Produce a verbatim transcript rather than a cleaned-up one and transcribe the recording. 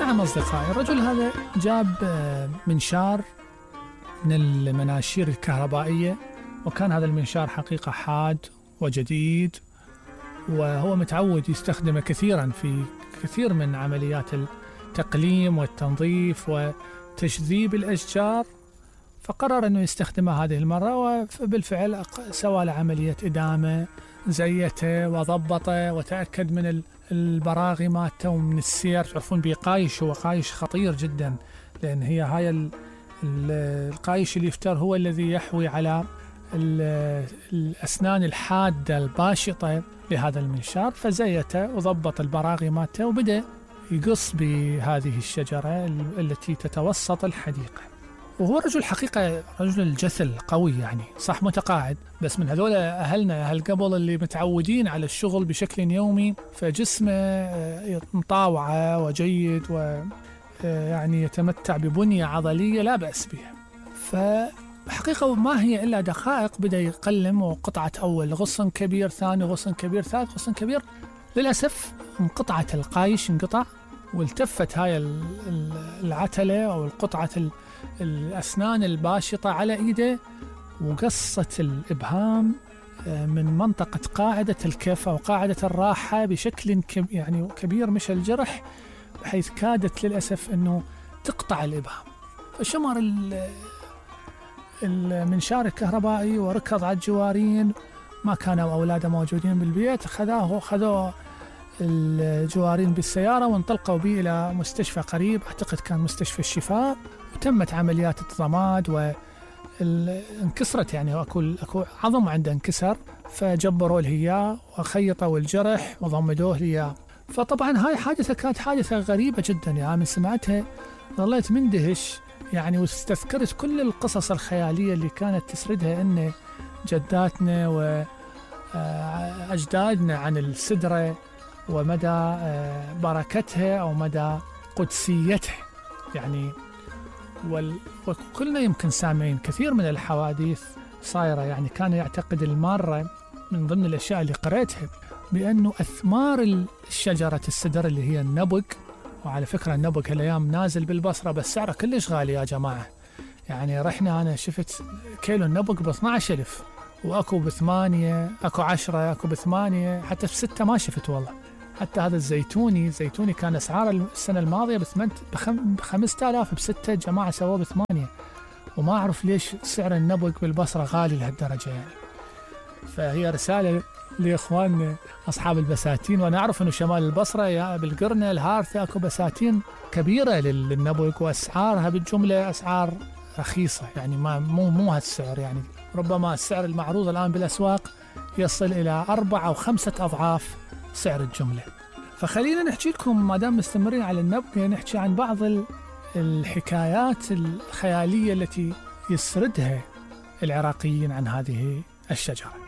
نعم أصدقائي، الرجل هذا جاب منشار من المناشير الكهربائية، وكان هذا المنشار حقيقة حاد وجديد، وهو متعود يستخدمه كثيرا في كثير من عمليات التقليم والتنظيف وتجذيب الأشجار، فقرر أنه يستخدمه هذه المرة، وبالفعل سوى له عملية إدامة، زيته وضبطه وتأكد من البراغي مالته ومن السير. تعرفون بقايش، هو قايش خطير جدا، لأن هي هاي القايش اليفتر هو الذي يحوي على الأسنان الحادة الباشطة لهذا المنشار، فزيته وضبط البراغي مالته وبدأ يقص بهذه الشجرة التي تتوسط الحديقة. وهو رجل حقيقة رجل الجثل قوي، يعني صح متقاعد، بس من هذول أهلنا أهل قبل اللي متعودين على الشغل بشكل يومي، فجسمه مطاوعة وجيد ويعني يتمتع ببنية عضلية لا بأس بها. فحقيقة ما هي إلا دقائق بدأ يقلم، وقطعة أول غصن كبير، ثاني غصن كبير، ثالث غصن كبير. للأسف انقطعت القايش، انقطع، والتفت هاي العتلة أو القطعة الأسنان الباشطة على إيده، وقصت الإبهام من منطقة قاعدة الكف أو قاعدة الراحة بشكل يعني كبير، مش الجرح، بحيث كادت للأسف أنه تقطع الإبهام. فشمر المنشار الكهربائي وركض على الجوارين، ما كانوا أولاده موجودين بالبيت، خذوه خذوه الجوارين بالسيارة وانطلقوا به إلى مستشفى قريب، أعتقد كان مستشفى الشفاء، وتمت عمليات الضماد، وانكسرت يعني أكو, أكو عظم عنده انكسر، فجبروا له إياه وخيطوا الجرح وضمدوه ليه. فطبعا هاي حادثة كانت حادثة غريبة جدا، يعني من سمعتها ظليت مندهش يعني، واستذكرت كل القصص الخيالية اللي كانت تسردها إن جداتنا وأجدادنا عن السدرة ومدى بركتها أو مدى قدسيتها يعني. وكلنا يمكن سامعين كثير من الحوادث صايرة، يعني كان يعتقد المارة من ضمن الأشياء اللي قرأتها بأنه أثمار الشجرة السدر اللي هي النبق، وعلى فكرة النبق هالأيام نازل بالبصرة بس سعره كلش غالي يا جماعة، يعني رحنا أنا شفت كيلو النبق ب اثني عشر ألف، وأكو بثمانية، أكو عشرة، أكو بثمانية، حتى في ستة ما شفت والله. حتى هذا الزيتوني الزيتوني كان أسعار السنة الماضية بخمسة آلاف، بستة جماعة سووه بثمانية، وما أعرف ليش سعر النبق بالبصرة غالي لهالدرجة يعني. فهي رسالة لإخواننا أصحاب البساتين، وأنا أعرف أنه شمال البصرة يا بالقرنة الهارثة أكو بساتين كبيرة للنبق، وأسعارها بالجملة أسعار رخيصة، يعني ما مو مو هالسعر، يعني ربما السعر المعروض الآن بالأسواق يصل إلى أربع أو خمسة أضعاف سعر الجملة. فخلينا نحكي لكم ما دام مستمرين على النبق، نحكي عن بعض الحكايات الخيالية التي يسردها العراقيين عن هذه الشجرة.